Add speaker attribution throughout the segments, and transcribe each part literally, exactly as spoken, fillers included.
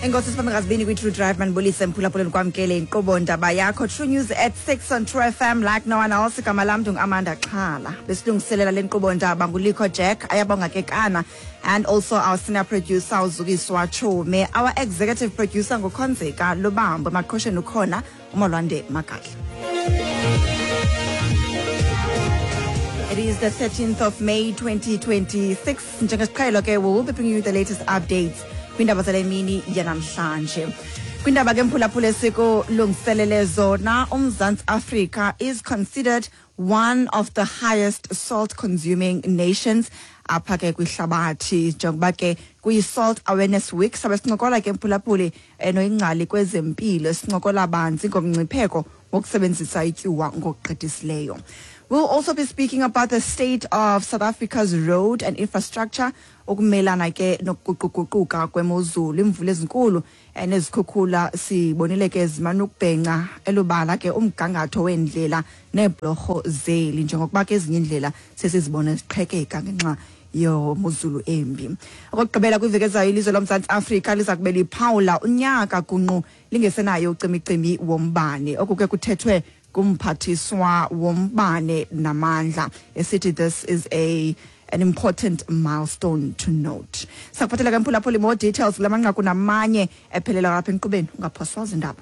Speaker 1: Enkosi sibambe ngazibini kwi-True Drive manibulise mphulaphuleni kwamkele inkqubo ndaba yakho True News at six on True F M like no one else. Igama lam ndingu-Amanda Xhala. Besilungiselela le nkqubo ndaba nguLikho Jack, ayabonga ke Kana, and also our senior producer uZukiswa Chume, our executive producer nguKhonzeka Lubambo, emaqhosheni ukhona uMolwande Magadla. It is the thirteenth of May twenty twenty-six. Njengesiqhelo ke, we will be bringing you the latest updates kwindaba zale mini yanamhlanje. Kwindaba ke mphulaphula esikulungiselele zona, uMzantsi Afrika is considered one of the highest salt consuming nations apha ke kwihlabathi, njengoba ke kuyi-Salt Awareness Week. Sabe sincokola ke mphulaphuli noyingcali kwezempilo, sincokola banzi ngomngcipheko wokusebenzisa ityuwa ngokugqithisileyo. We'll also be speaking about the state of South Africa's road and infrastructure, ukumelana ke nokuguquguquka kwemozulu, imvula ezinkulu nezikhukhula sibonile ke zimane ukubhenca elubala ke umgangatho weendlela neebhlorho zeli, njengokuba ke ezinye iindlela sesizibona ziqhekeka ngenxa yomozulu embi. Okokugqibela kwiveki ezayo, ilizwe loMzantsi Afrika liza kube liphawula unyaka gungqu lingesenayo ucimicimi wombane. Oku ke kuthethwe kumphathiswa wombane namandla, esithi this is a an important milestone to note. Sakuphathela ke mphulaphuli more details kula manqaku namanye ephelela apha enkqubeni, ungaphoswa zindaba.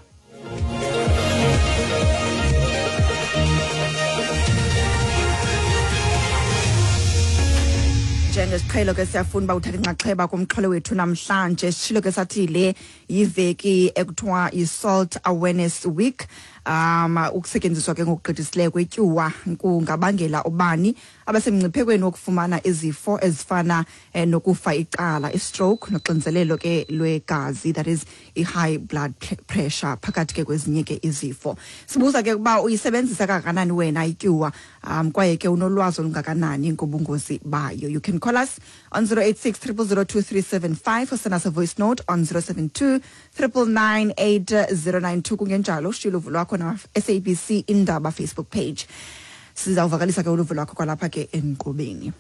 Speaker 1: Njengesiqhelo ke siyafuna uba uthathe inxaxheba kumxholo wethu namhlanje. Sishilo ke sathi le yiveki ekuthiwa yi-Salt Awareness Week. Um ukusetyenziswa ke ngokugqithisileyo kwetyuwa kungabangela ubani abasemngciphekweni wokufumana izifo ezifana eh, nokufa icala, i-stroke, noxinzelelo ke lwegazi, that is i-high blood pressure, phakathi ke kwezinye ke izifo. Sibuza ke ukuba uyisebenzisa kangakanani wena ityuwa, um kwaye ke unolwazi olungakanani ngobungozi bayo. You can call us on zero eight six triple zero two three seven five or send us a voice note on zero seven two triple nine eight zero nine two. Kungenjalo ushiye uluvo lwakho na S A B C Indaba Facebook page. Sizawuvakalisa ke uluvo lwakho kwalapha ke enkqubeni.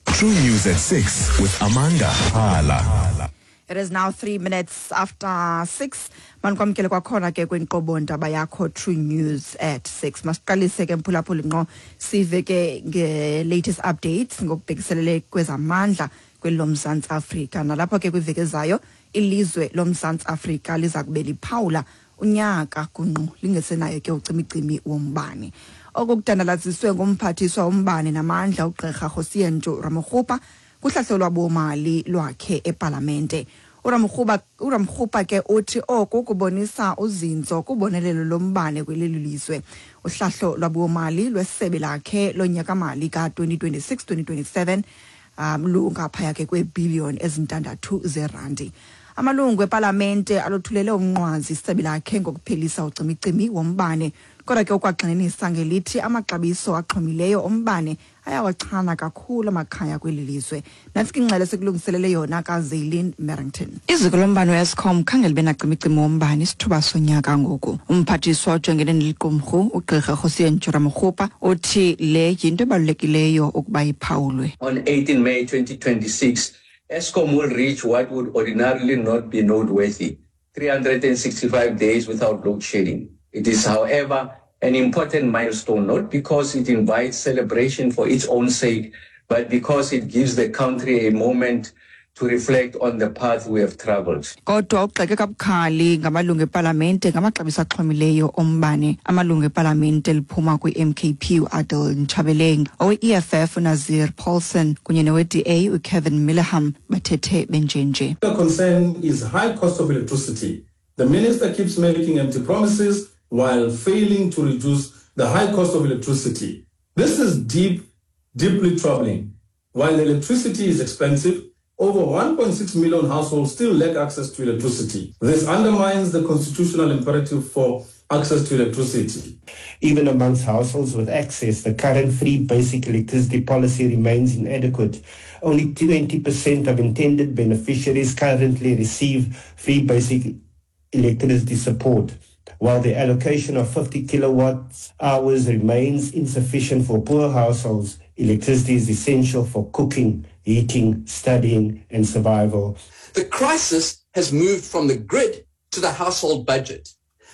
Speaker 2: True News at six with Amanda Xhala.
Speaker 1: It is now three minutes after six. Manikwamkele kwakhona ke kwinkqubo ndaba yakho True News at six. Masiqalise ke mphulaphuli ngqo sive ke nge-latest updates ngokubhekiselele kwezamandla kweli loMzantsi Afrika. Nalapho ke kwiveki ezayo ilizwe loMzantsi Afrika liza kube liphawula unyaka gungqu lingesenayo ke ucimicimi wombane. Oku kudandalaziswe ngumphathiswa wombane namandla uGqirha Kgosientsho Ramokgopa kuhlahlo lwabomali lwakhe epalamente. uRamokgopa uRamokgopa ke uthi oku kubonisa uzinzo kubonelelo lombane kweli lizwe. Uhlahlo lwabomali lwesebe lakhe lonyaka-mali ka twenty twenty-six twenty twenty-seven um lungaphaya ke kweebillion ezintandathu zerandi. Amalungu epalamente alothulele umnqwazi isebe lakhe ngokuphelisa ucimicimi wombane, kodwa ke ukwagxininisa ngelithi amaxabiso axhomileyo ombane ayawachana kakhulu amakhaya kweli lizwe. Nantsi ke ingxelo esikulungiselele yona kaZaylin Merrington.
Speaker 3: Iziko lombane we-Eskom khange libe nacimicimi wombane isithuba sonyaka ngoku. Umphathiswa ojongene neliqumrhu uGqirha Kgosientsho Ramokgopa uthi le yinto ebalulekileyo ukuba iphawulwe.
Speaker 4: On eighteen May twenty twenty-six, Eskom will reach what would ordinarily not be noteworthy, three hundred sixty-five days without load shedding. It is, however, an important milestone, not because it invites celebration for its own sake, but because it gives the country a moment to reflect on the path we have traveled.
Speaker 3: Kodwa ugxeke kabukhali ngamalungu epalamente ngamaxabiso axhomileyo ombane. Amalungu epalamente liphuma kwi-M K P uAdel Nchabeleng, owe-E F F uNazir Paulsen kunye nowe-D A uKevin Mileham bathethe benjenje.
Speaker 5: The concern is high cost of electricity. The minister keeps making empty promises while failing to reduce the high cost of electricity. This is deep, deeply troubling. While electricity is expensive, over one point six million households still lack access to electricity. This undermines the constitutional imperative for access to electricity.
Speaker 6: Even amongst households with access, the current free basic electricity policy remains inadequate. Only twenty percent of intended beneficiaries currently receive free basic electricity support, while the allocation of fifty kilowatt hours remains insufficient for poor households. Electricity is essential for cooking, heating, studying, and survival.
Speaker 7: The crisis has moved from the grid to the household budget.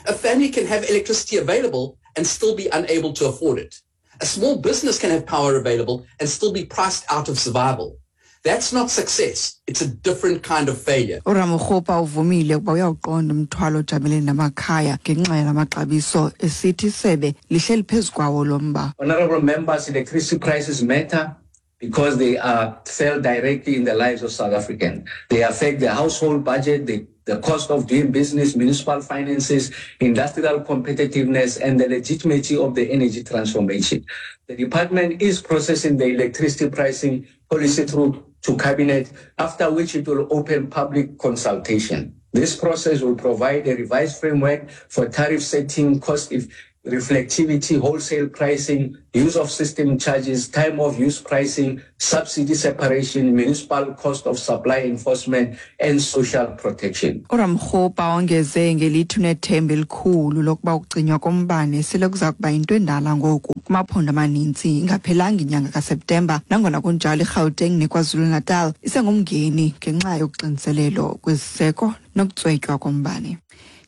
Speaker 7: A family can have electricity available and still be unable to afford it. A small business can have power available and still be priced out of survival. That's not success. It's a different kind of failure.
Speaker 3: uRamokgopa uvumile ukuba uyawuqonda umthwalo ojamelene namakhaya ngenxa yalamaxabiso esithi isebe lihleli phezu kwawo lo mba.
Speaker 4: Honorable members, electricity prices matter because they are felt directly in the lives of South Africans. They affect the household budget, the, the cost of doing business, municipal finances, industrial competitiveness, and the legitimacy of the energy transformation. The department is processing the electricity pricing policy through to cabinet, after which it will open public consultation. This process will provide a revised framework for tariff setting, cost if reflectivity, wholesale pricing, use of system charges, time of use pricing, subsidy separation, municipal cost of supply enforcement, and social protection.
Speaker 3: uRamokgopa wongeze ngelithi unethemba elikhulu lokuba ukucinywa kombane sele kuza kuba yinto endala ngoku kumaphondo amaninzi ingaphelanga inyanga kaSeptemba. Nangona kunjalo, iGauteng neKwaZulu-Natal isengumngeni ngenxa yokuxiniselelo kweziseko nokutswetywa kombane.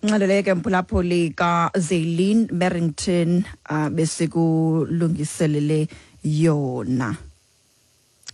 Speaker 1: Ingxelo ke, mphulaphuli, kaZelin Merrington uh, besikulungiselele yona.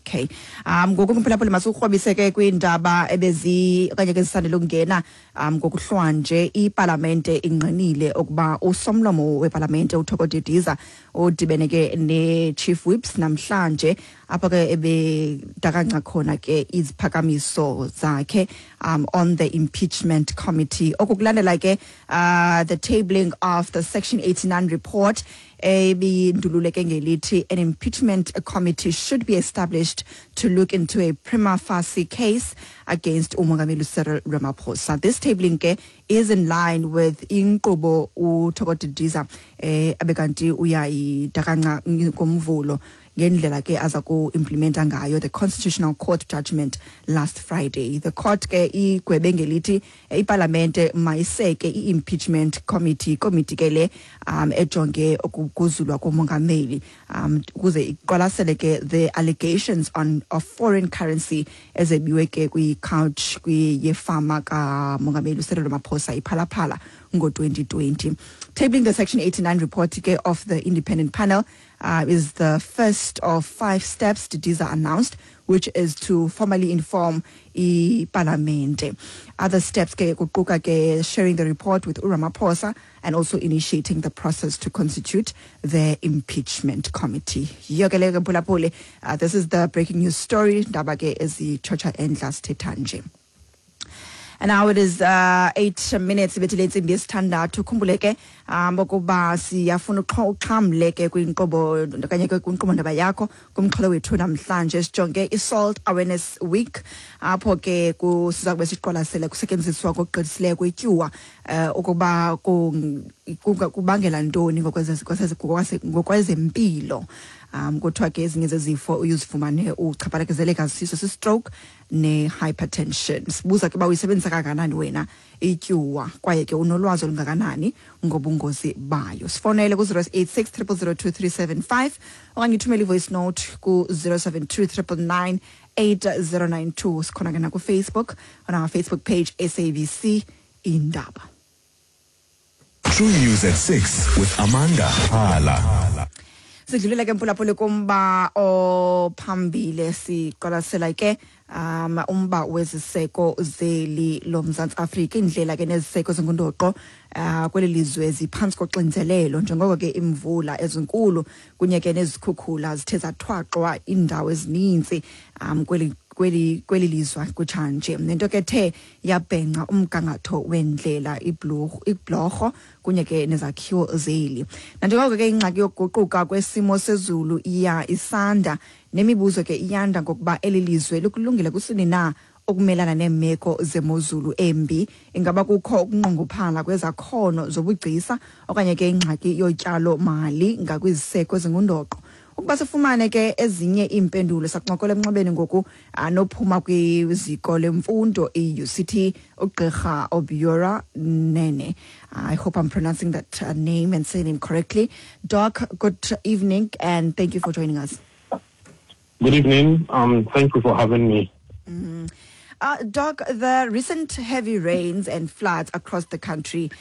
Speaker 1: Okay. Um ngoku, mphulaphuli, masikurhobise ke kwiindaba ebezi okanye ke zisandele ukungena um ngokuhlwanje. Ipalamente ingqinile ukuba usomlomo wepalamente uThoko Didiza udibene ke ne-chief whips namhlanje, apho ke ebedakanca khona ke iziphakamiso zakhe um on the impeachment committee. Oku kulandela ke uh, the tabling of the Section eighty-nine report ebindululeke ngelithi an impeachment committee should be established to look into a prima facie case against uMongameli Cyril Ramaphosa. This tabling ke is in line with inkqubo uThoko Didiza eh abekanti uyayidakanca ngomvulo ngendlela ke aza ku-implementa ngayo the Constitutional Court judgment last Friday. The court ke igwebe ngelithi ipalamente mayiseke i-impeachment committee, committee ke le um ejonge ukuguzulwa komongameli, um ukuze iqwalasele ke the allegations on of foreign currency ezebiwe ke kwi-couch kwiyefama kamongameli uCyril Ramaphosa iPhala Phala ngo-twenty twenty. Tabling the Section eighty-nine report ke of the independent panel uh, is the first of five steps Didiza announced, which is to formally inform iParliament. Other steps ke kuquka ke sharing the report with uRamaphosa and also initiating the process to constitute the impeachment committee. Yiyo ke le ke, mphulaphuli. Uh, this is the breaking news story. Ndaba ke ezitshotsha endla sithetha nje. And now it is uh, eight minutes ibethile intsimbi yesithandathu. Khumbule ke um ukuba siyafuna uxhamle ke kwinkqubo okanye ke kwinkqubo ndaba yakho kumxholo wethu namhlanje. Sijonge i-Salt Awareness Week, apho ke siza kube siqwalasele kusetyenziswa kokugqithisileyo kwetyuwa, um ukuba kubangela ntoni ngokwezempilo. um kuthiwa ke ezinye zezifo uyuzifumane uchaphazeleka siso si-stroke ne-hypertension. Sibuza ke uba uyisebenzisa kangakanani wena ityuwa, kwaye ke unolwazi olungakanani ngobungozi bayo. Sifonele ku-zero eight six zero zero zero two three seven five okanye uthumele i-voice note ku-zero seven two nine nine nine eight zero nine two. Sikhona ke nakuFacebook, on our Facebook page, S A B C Indaba.
Speaker 2: True News at six with Amanda Hala.
Speaker 1: Sidlulile ke, mphulaphuli, kumba ophambili. Siqwalasela ke um umba weziseko zeli loMzantsi Afrika. Indlela ke neziseko zingundoqo uh, kweli lizwe ziphantsi koxinzelelo njengoko ke imvula ezinkulu kunye ke nezikhukhula zithe zathwaxwa iindawo ezininzi um kweli kweli kweli lizwe kutshanje, nento ke ethe yabhenca umgangatho wendlela, ibhlorho kunye ke nezakhiwo zeli. Nanjengoko ke ingxaki yokuguquka kwesimo sezulu iya isanda, nemibuzo ke iyanda ngokuba eli lizwe likulungile kusini na ukumelana neemeko zemozulu embi. Ingaba kukho ukunqongophala kwezakhono zobugcisa okanye ke ingxaki yotyalo mali ngakwiziseko ezingundoqo? Ukuba sifumane ke ezinye iimpendulo, sakuncokola emnxebeni ngoku nophuma kwiziko lemfundo i-U C T, ugqirha Obiora Nene. I hope I'm pronouncing that uh, name and surname correctly. Doc, good evening and thank you for joining us.
Speaker 8: Good evening. Um, thank you for having me.
Speaker 1: Mm. Uh, Doc, the recent heavy rains and floods across the country